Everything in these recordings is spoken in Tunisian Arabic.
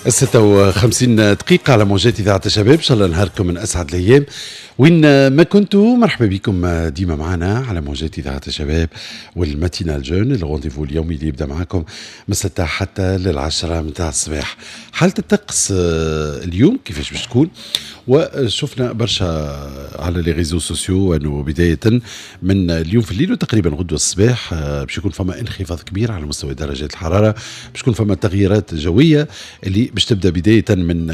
6:50 على موجات إذاعة الشباب. إن شاء الله نهاركم من أسعد الأيام وين ما كنتوا. مرحبا بكم ديما معنا على موجات إذاعة الشباب وال matinale jeune، ال rendez-vous اليومي اللي يبدأ معكم من 6 حتى لل10 متاع الصباح. حالة الطقس اليوم كيفاش باش تكون؟ وشفنا برشا على les réseaux sociaux انه بداية من اليوم في الليل وتقريبا غدوه الصباح باش يكون فما انخفاض كبير على مستوى درجات الحرارة، باش يكون فما تغييرات جوية اللي باش تبدا بداية من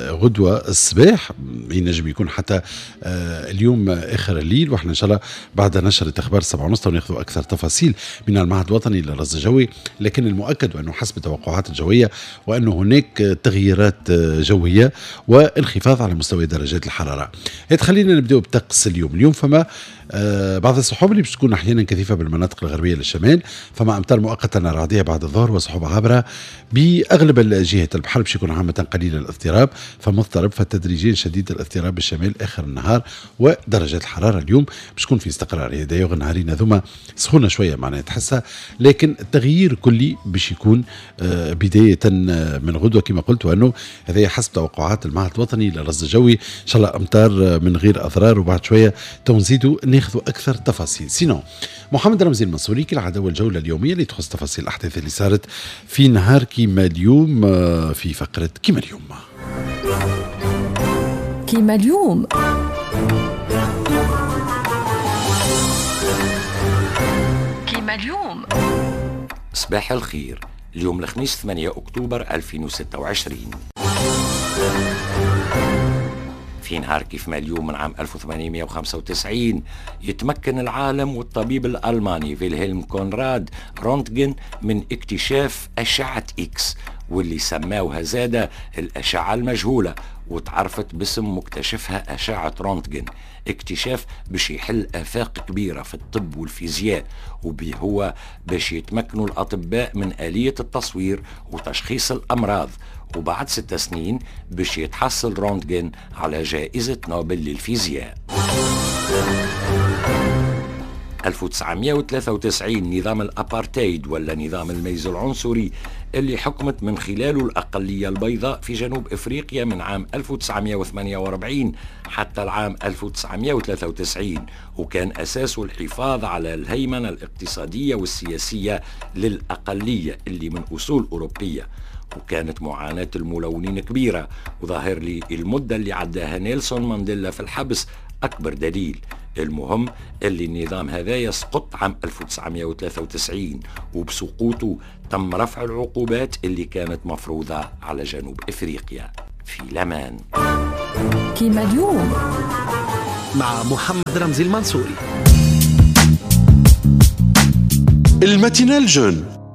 غدوه الصباح، ينجم يكون حتى اليوم اخر الليل. واحنا ان شاء الله بعد نشرة اخبار 7:30 ناخذ اكثر تفاصيل من المعهد الوطني للرصد الجوي، لكن المؤكد انه حسب التوقعات الجوية وانه هناك تغييرات جوية وانخفاض على مستوى درجات الحرارة. خلينا نبداو بطقس اليوم. اليوم فما بعض السحب اللي باش تكون احيانا كثيفة بالمناطق الغربية للشمال، فما امطار مؤقتة رعديه بعد الظهر وسحب عابرة باغلب الجهات. البحر باش يكون عامة قليل الاضطراب، فمضطرب فتدريجيا شديد الاضطراب بالشمال اخر النهار. ودرجات الحرارة اليوم باش تكون في استقرار، هي دايوغ النهارين هذوما سخونة شوية معناها تحسها، لكن التغيير كلي باش يكون بداية من غدوه كما قلت، وانه هذا حسب توقعات المعهد الوطني للرصد الجوي. ان شاء الله امطار من غير اضرار، وبعد شوية تو نزيدوا ناخذوا اكثر تفاصيل. sinon محمد رمزي المنصوري كالعادة والجوله اليومية اللي تخص تفاصيل الاحداث اللي صارت في نهار كيما اليوم في فقره كيما اليوم. كيما اليوم كيما اليوم. صباح الخير. اليوم الخميس 8 أكتوبر 2026. في نهار كيف ما اليوم من عام 1895 يتمكن العالم والطبيب الألماني فيلهلم كونراد رونتجن من اكتشاف أشعة إكس، واللي سماوها زادة الأشعة المجهولة، وتعرفت باسم مكتشفها أشعة رونتجن. اكتشاف باش يحل آفاق كبيرة في الطب والفيزياء، وبه هو باش يتمكنوا الأطباء من آلية التصوير وتشخيص الأمراض. وبعد 6 سنين باش يتحصل رونتجن على جائزة نوبل للفيزياء. 1993 نظام الأبارتايد ولا نظام الميز العنصري اللي حكمت من خلاله الأقلية البيضاء في جنوب إفريقيا من عام 1948 حتى العام 1993، وكان أساسه الحفاظ على الهيمنة الاقتصادية والسياسية للأقلية اللي من أصول أوروبية. وكانت معاناة الملونين كبيرة، وظاهر لي المدة اللي عداها نيلسون مانديلا في الحبس أكبر دليل. المهم اللي النظام هذا يسقط عام 1993، وبسقوطه تم رفع العقوبات اللي كانت مفروضة على جنوب إفريقيا. في لمان كيما اليوم مع محمد رمزي المنصوري. ال matinale jeune.